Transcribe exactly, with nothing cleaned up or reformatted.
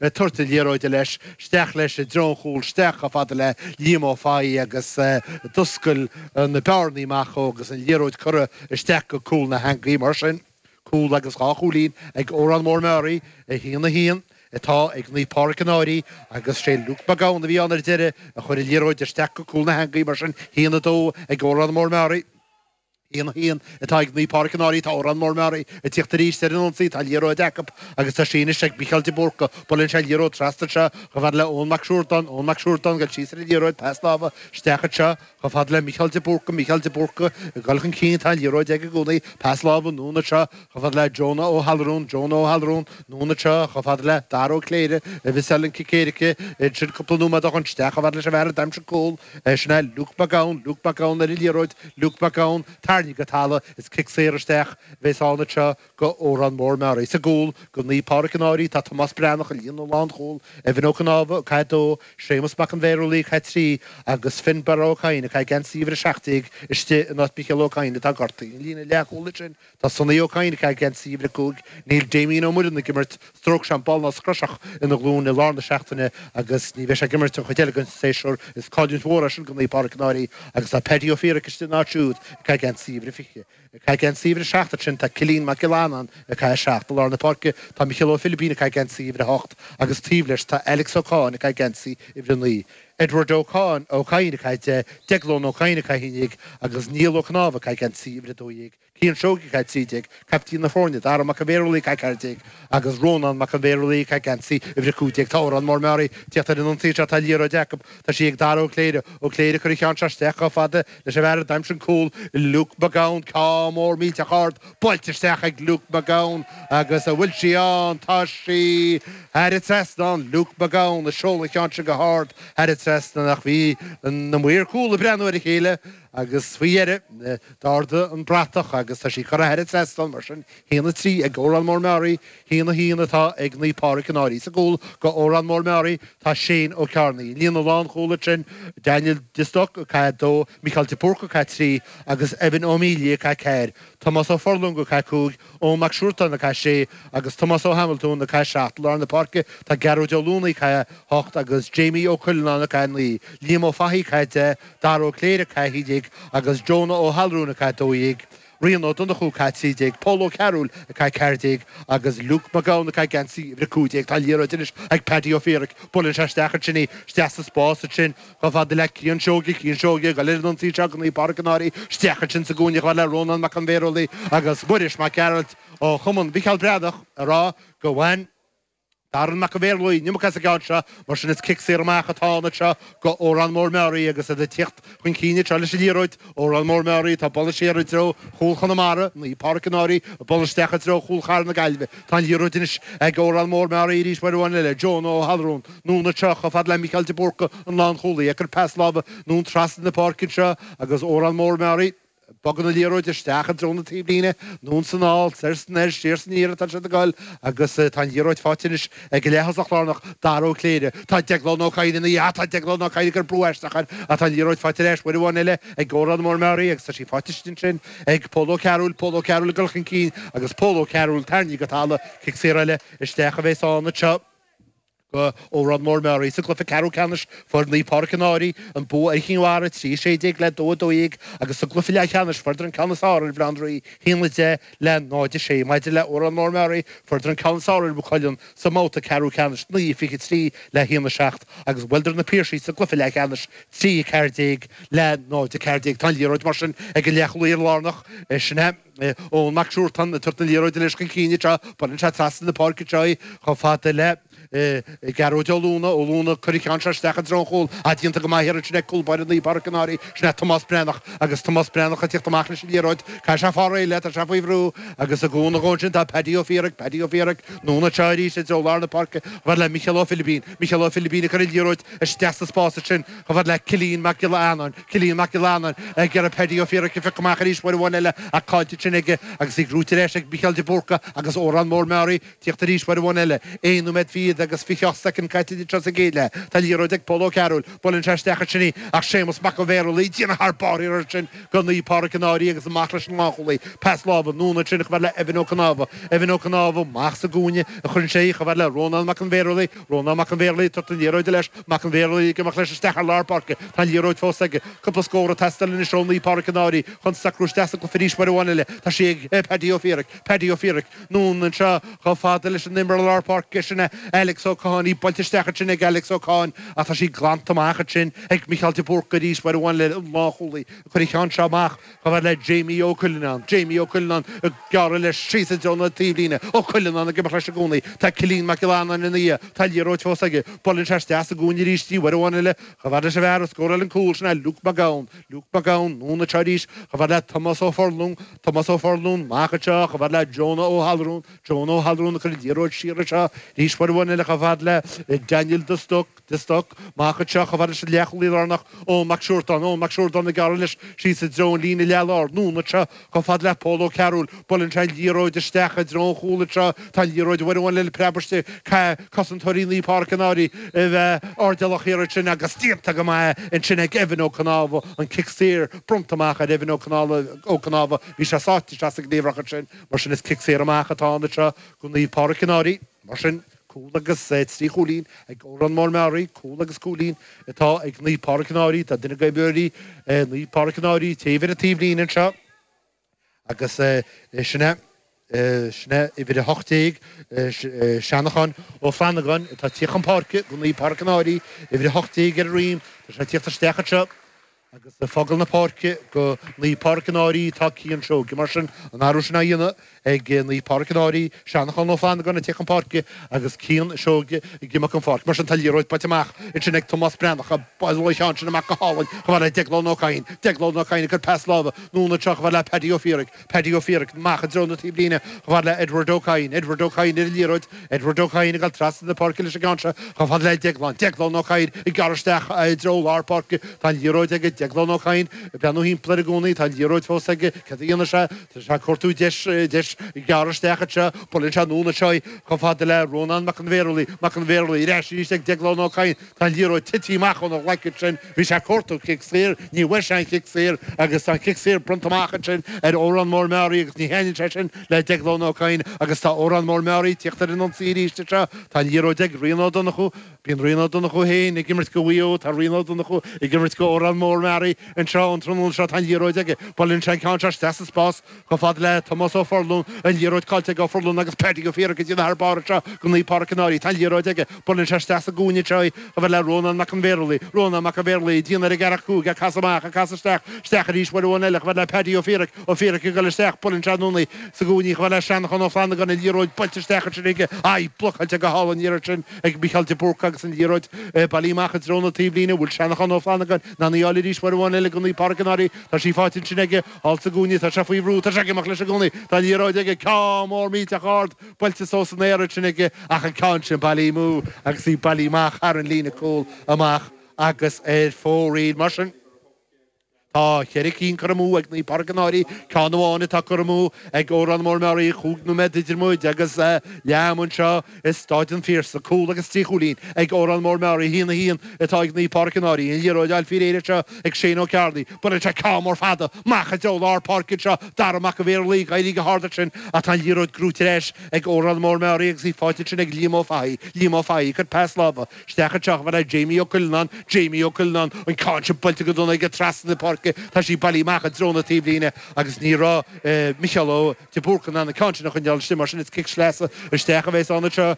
ag tabhairt na liathróide leis, isteach leis i dtreo an chúil, isteach chomh fada le Liam Ó Fathaigh agus d'oscail na bearnaí amach dhó agus an liathróid curtha isteach go cúl na heangaí. Mar sin, cúl agus dhá chúilín ag Órán Mór Meáraí, a haon a haon atá ag Naomh Pádraig an Fhairche agus sé Luke Mac Gabhann a bhí ann ar deireadh a chuir an liathróid isteach go cúl na heangaí. Mar sin, a haon a dó ag Órán Mór Meáraí. a haon a haon atá ag Naomh Pádraig an Fhairche. Tá Órán Mór Meáraí ag tíocht arís ar an ionsaí. Tá an liathróid acu agus tá sí anois ag Mícheál de Búrca. Buaileann sé an liathróid trasna anseo chomh fada le Eoin Mac Siúrdáin. Eoin Mac Siúrdáin ag dul síos ar an liathróid, pas láimhe isteach anseo chomh fada le Mícheál de Búrca. Mícheál de Búrca ag dul chun cinn, tá an liathróid aige i gcónaí. Pas láimhe anonn anseo chomh fada le Jonah Ó hAllarún. Jonah Ó hAllarún anonn anseo chomh fada le Dara Ó Cléire a mhiseáil an cic éirice ansin cúpla nóiméad ó shin. Isteach chomh fada leis an bhfear a d'aimsigh an cúl. Sin é Luke Mac Gabhann. Luke Mac Gabhann ar an liathróid. Luke Mac Gabhann tarraingthe go talamh. Is cic saor isteach a bheas ann anseo go Órán Mór Meáraí. Sa gcúl go Naomh Pádraig an Fhairche tá Tomás Breathnach i líne lánchúil, Evan Ó Cnámha ag caitheamh a dó, Séamus Mac an Bhéarlaí ag caitheamh trí agus Finnbarra Ó Cadhain ag caitheamh geansaí uimhir a seacht déag istigh in áit Mhicheál Ó Cadhain atá gortaithe. I líne leathchúil ansin tá Sonny Ó Cadhain ag caitheamh geansaí uimhir a cúig. Níl Damien Ó Muireann ag imirt, stróc siombail ná scroiseach ina ghlúin i lár na seachtaine agus ní bheidh sé ag imirt an chuid eile den séasúr. Is cailliúint mhór é sin go Naomh Pádraig an Fhairche agus tá Paddy Ó Fiaraic istigh ina áit siúd ag caitheamh geansaí uimhir a fiche. Ag caitheamh geansaí uimhir a seacht ansin tá Cillian Mac Giolla Annáin ag caitheamh a seacht. I lár na páirce tá Micheál Ó Philibín ag caitheamh geansaí uimhir a hocht agus taobh leis tá Alex Ó Cáin ag caitheamh geansaí uimhir a naoi. Edward Ó Cáin Ó Cadhain ag caitheamh deich, Deaglán Ó Cadhain ag caitheamh a haon déag agus Niall Ó Cnámha ag caitheamh geansaí uimhir a dó dhéag. Cian Seoighe ag caitheamh trí déag, caiptín na foirne, Dara Mac an Bhéarlaí ag caitheamh ceathair déag agus Rónán Mac an Bhéarlaí ag caitheamh geansaí uimhir a cúig déag. Tá Órán Mór Meáraí ag tíocht ar an ionsaí seo, tá liathróid acu, tá sí ag Dara Ó Cléire, Ó Cléire ag cur an cheann seo isteach chomh fada leis an bhfear a d'aimsigh an cúl, Luke Mac Gabhann, ceann mór millteach ard, buailte isteach ag Luke Mac Gabhann agus an bhfuil sí ann? Tá sí thar an trasnán, Luke Mac Gabhann ag seoladh an cheann sin go hard thar an trasnán ach bhí na maoir cúl ag breathnú ar a chéile agus faoi dheireadh d'ardaigh an bratach agus tá sí curtha thar an trasnán. Mar sin, a haon a trí ag Órán Mór Meáraí, a haon a haon atá ag Naomh Pádraig an Fhairche. Sa gcúl go Órán Mór Meáraí tá Shane Ó Cearnaigh. I líne lánchúil ansin Daniel de Stoc ag caitheamh a dó, Mícheál de Búrca ag caitheamh trí agus Evan Ó Mílí ag caitheamh ceathair, Tomás Ó Forlonga ag caitheamh cúig, Eoin Mac Siúrtáin ag caitheamh sé agus Tomás Ó Hamiltún ag caitheamh seacht. I lár na páirce tá Gearóid Ó Luanaigh ag caitheamh hocht agus Jamie Ó Cuileanáin ag caitheamh naoi, Liam Ó Fathaigh ag caitheamh deich, Dara Ó Cléire ag caitheamh a haon déag agus Jonah Ó hAllrún ag caitheamh dó dhéag, Rian Ó Donnchú ag caitheamh trí déag, Pól Ó Cearúil ag caitheamh ceathair déag agus Luke Mac Gabhann ag caitheamh geansaí uimhir a cúig déag. Tá an liathróid anois ag Paddy Ó Fiaraic. Buaileann sé isteach ansin í, isteach sa spás ansin chomh fada le Cian Seoige, Cian Seoige ag dul ar an ionsaí seo go Naomh Pádraig an Fhairche, isteach ansin sa gcúinne chomh fada le Rónán Mac an Bhéarlaí agus Muiris Mac Gearailt ó Chumann Mhicheál Breathnach ag rá go bhain Darren Mac an Bhéarlaí an iomarca as an gceann seo, mar sin is cic saor amach atá ann anseo go Órán Mór Meáraí agus iad ag tíocht chun cinn anseo leis an liathróid. Órán Mór Meáraí atá ag bualadh siar i dtreo chúl Chonamara, Naomh Pádraig an Fhairche ag bualadh isteach i dtreo chúl Chathair na Gaillimhe. Tá an liathróid anois ag Órán Mór Meáraí arís uair amháin eile, Jonah Ó hAllrún, anonn anseo chomh fada le Mícheál de Búrca, an lánchúlaí, ag cur pas láimhe anonn trasna na páirce anseo agus Órán Mór Meáraí. Bogann an liathróid isteach i dtreo na taobhlíne, anonn 's anall, soir 's anoir, siar 's aniar atá siad ag goil agus tá an liathróid faighte anois ag an leath-thosach lárnach, Dara Ó Cléire. Tá Deaglán Ó Cadhain ina dhiaidh, tá Deaglán Ó Cadhain ag cur brú aisteach air ach tá an liathróid faighte ar ais uair amháin eile ag Órán Mór Meáraí agus tá sí faighte istigh ansin ag Pól Ó Cearúil, Pól Ó Cearúil ag dul chun cinn agus Pól Ó Cearúil tarraingthe go talamh, cic saor eile isteach a bheas ann anseo. Go Órán Mór Meáraí. Sa gcluiche ceathrú ceannais fuair Naomh Pádraig an Fhairche an bua ar Chinn Mhara, trí a sé déag le dó a dó dhéag agus sa gcluiche leathcheannais fuaireadar an ceann is fearr ar Bhaile Átha an Rí, haon a deich le náid a sé. Maidir le Órán Mór Meáraí fuaireadar an ceann is fearr ar Mhaigh Cuilinn sa mbabhta ceathrú ceannais, naoi a fiche trí le haon a seacht agus bhuaileadar Na Piarsaigh sa gcluiche leathcheannais, trí a ceathair déag le náid a ceathair déag. Tá an liathróid mar sin ag an leathchúlaí lárnach, sin é Eoin Mac Siúrtáin ag tabhairt na liathróide leis chun cinn anseo. Buaileann sé trasna na páirce anseo í chomh fada le Gearóid Ó Lúna, Ó Lúna, Cuir an ceann seo isteach i dtreo an chúil. Ah, déanta go maith thiar ansin ag cúl báire Naomh Pádraig an Fhairche, sin é Tomás Breathnach agus Tomás Breathnach ag tíocht amach leis an liathróid. Caithfidh sé fáil réidh léi, tá sé faoi bhrú agus ag cúnamh dhó ansin tá Paddy Ó Fiaraic, Paddy Ó Fiaraic, anonn anseo arís i dtreo lár na páirce chomh fada le Micheál Ó Philibín, Micheál Ó Philibín ag cur an liathróid isteach sa spás ansin chomh fada le Cillian Mac Giolla Eanáin, Cillian Mac Giolla Eanáin ag iarraidh Paddy Ó Fiaraic a phiocadh amach arís uair amháin eile ach caillte ansin aige agus í gnóite ar ais ag Micheál de Búrca agus Órán Mór Meáraí. Tíocht arís uair amháin eile, aon nóiméad fichead agus fiche ocht soicind caite anseo sa gcéad leath. Tá an liathróid ag Pól Ó Cearúil. Buaileann sé isteach ansin í ach Séamus Mac an Bhéarlaí ag déanamh thar barr ansin do Naomh Pádraig an Fhairche agus amach leis an lánchúlaí. Pas láimhe anonn ansin chomh fada le Evan Ó Cnámha. Evan Ó Cnámha amach sa gcúinne a chuireann sé í chomh fada le Rónán Mac an Bhéarlaí. Rónán Mac an Bhéarlaí ag tabhairt an liathróid leis. Mac an Bhéarlaí ag imeacht leis isteach ar lár páirce. Tá an liathróid fós aige. Cúpla scór ag teastáil anois ó Naomh Pádraig an Fhairche chun socrú isteach sa gcluiche arís uair amháin eile. Tá sí ag Paddy Ó Fiaraic. Paddy Ó Fiaraic anonn anseo chomh fada leis an imreoir lár páirce sin é Alex Ó Catháin. Í buailte isteach ansin ag Alex Ó Catháin ach tá sí glanta amach ansin ag Micheál de Búrca arís uair amháin eile an lánchúlaí ag cur an ceann seo amach chomh fada le Jamie Ó Cuileanáin. Jamie Ó Cuileanáin ag gearradh leis síos i dtreo na taobhlíne. Ó Cuileanáin ag imeacht leis i gcónaí. Tá Cillian Mac Giolla Annáin ina dhiaidh. Tá an liathróid fós aige. Buaileann sé isteach sa gcúinne arís í uair amháin eile chomh fada leis an bhfear a scóráil an cúl sin é Luke Mac Gabhann. Luke Mac Gabhann anonn anseo arís chomh fada le Tomás Ó Forlún. Tomás Ó Forlún amach anseo chomh fada le Jonah Ó hAllrún. Jonah Ó hAllrún ag cur an liathróid siar anseo arís uair amháin eile chomh fada le Daniel de Stoc. De Stoc amach anseo chomh fada leis an leathchúlaí lárnach Eoin Mac Siúrdáin. Eoin Mac Siúrdáin ag gearradh leis síos i dtreo an líne leath-lár. Anonn anseo chomh fada le Pól Ó Cearúil. Buaileann sé an liathróid isteach i dtreo an chúil anseo. Tá an liathróid uair amháin eile preabtha istigh. Caithfidh cosantóirí Naomh Pádraig an Fhairche a bheith airdeallach thiar ansin agus déanta go maith ansin ag Evan Ó Cnámha. An cic saor bronnta amach ar Evan Ó Cnámha. Bhí sé sáite isteach sa gcliabhrach ansin. Mar sin is cic saor amach atá ann anseo do Naomh Pádraig an Fhairche. Mar sin, cúl agus trí chúilín ag Órán Mór Meáraí, cúl agus cúilín atá ag Naomh Pádraig an Fhairche. Tá duine d'imreoirí Naomh Pádraig an Fhairche taobh ar an taobhlíne anseo agus sin é, sin é uimhir a hocht déag, Seanachán Ó Flannagáin atá ag tíocht chun páirce do Naomh Pádraig an Fhairche, uimhir a hocht déag ar a dhroim, tá sé ag tíocht isteach anseo. Agus ag fágáil na páirce do Naomh Pádraig an Fhairche tá Cian Seoige. Mar sin, an athrú sin á dhéanamh ag Naomh Pádraig an Fhairche, Seanachán Ó Flannagáin ag tíocht chun páirce agus Cian Seoige ag imeacht den pháirc. Mar sin, tá liathróid buailte amach ansin ag Tomás Breathnach. Buaileadh an ceann sin amach go hálainn chomh fada le Deaglán Ó Cadhain. Deaglán Ó Cadhain ag cur pas láimhe anonn anseo chomh fada le Paddy Ó Fiaraic. Paddy Ó Fiaraic amach i dtreo na taobhlíne chomh fada le Edward Ó Cadhain. Edward Ó Cadhain ar an liathróid. Edward Ó Cadhain ag dul trasna na páirce leis an gceann seo chomh fada le Deaglán. Deaglán Ó Cadhain ag gearradh isteach i dtreo lár páirce. Tá an liathróid aige Deaglán Ó Cadhain ag breathnú thimpeall air i gcónaí. Tá an liathróid fós aige. Céard a dhéanfaidh sé? Tá sé ag cuartú deis, deis gearradh isteach anseo. Buaileann sé anonn anseo í chomh fada le Rónán Mac an Bhéarlaí. Mac an Bhéarlaí ar ais arís ag Deaglán Ó Cadhain. Tá an liathróid tite amach óna ghlaic ansin. Bhí sé ag cuartú cic saor. Ní bhfuair sé an chic saor agus tá an cic saor bronnta amach ansin ar Órán Mór Meáraí agus ní thaitníonn sé sin le Deaglán Ó Cadhain agus tá Órán Mór Meáraí ag tíocht ar an ionsaí arís anseo. Tá an liathróid ag Rian Ó Donnchú. Bíonn Rian Ó Donnchú féin ag imirt do Mhaigh Eo. Tá Rian Ó Donnchú ag imirt do Órán Mór Meáraí anseo an tráthnóna seo. Tá an liathróid aige. Buaileann sé an ceann seo isteach sa spás chomh fada le Tomás Ó Forlún. An liathróid caillte ag Ó Forlún agus Paddy Ó Fiaraic ag déanamh thar barr anseo do Naomh Pádraig an Fhairche. Tá an liathróid aige. Buaileann sé isteach sa gcúinne anseo í chomh fada le Rónán Mac an Bhéarlaí. Rónán Mac an Bhéarlaí ag déanamh ar an gceathracha cúig, ag casadh amach, ag casadh isteach, isteach arís uair amháin eile chomh fada le Paddy Ó Fiaraic. Ó Fiaraic ag dul isteach, buaileann sé anonn í sa gcúinne chomh fada le Seanchán Ó Flannagáin, an liathróid buailte isteach ansin aige. Ai, blocáilte go hálainn an iarraidh sin ag Micheál de Búrca agus an liathróid bailithe amach i dtreo na taobhlíne. Bhfuil Seanchán Ó Flannagáin in ann í a fháil arís uair amháin eile do Naomh Pádraig an Fhairche. Tá sí faighte ansin aige thall sa gcúinne. Tá sé faoi bhrú. Tá sé ag imeacht leis i gcónaí. Tá an liathróid aige. Ceann mór millteach ard buailte suas san aer ansin aige ach an ceann sin bailithe amú agus í bailithe amach thar an líne cúil amach agus ar fóraoil. Mar sin. Tá ceithre cinn curtha amú ag Naomh Pádraig an Fhairche, ceann amháin atá curtha amú ag Órán Mór Meáraí, chúig nóiméad idir muid agus leath ama anseo i Stáid an Phiarsaigh. Cúl agus trí chúilín ag Órán Mór Meáraí, a haon a haon atá ag Naomh Pádraig an Fhairche. An liathróid á fáil faoi réir anseo ag Shane Ó Cearnaigh. Buaileann sé ceann mór fada amach i dtreo lár páirce anseo. Dara Mac an Bhéarlaí ag éirí go hard ansin ach tá an liathróid gnóite ar ais ag Órán Mór Meáraí agus í faighte ansin ag Liam Ó Fathaigh. Liam Ó Fathaigh ag cur pas láimhe. Isteach anseo chomh fada le Jamie Ó Cuileanáin, Jamie Ó Cuileanáin, an ceann sin buailte go dona aige trasna na páirce, tá sí bailithe amach i dtreo na taobhlíne agus ní raibh Micheál Ó de Búrca in ann an ceann sin a choinneáil istigh, mar sin is cic sleasa isteach a bheas ann anseo.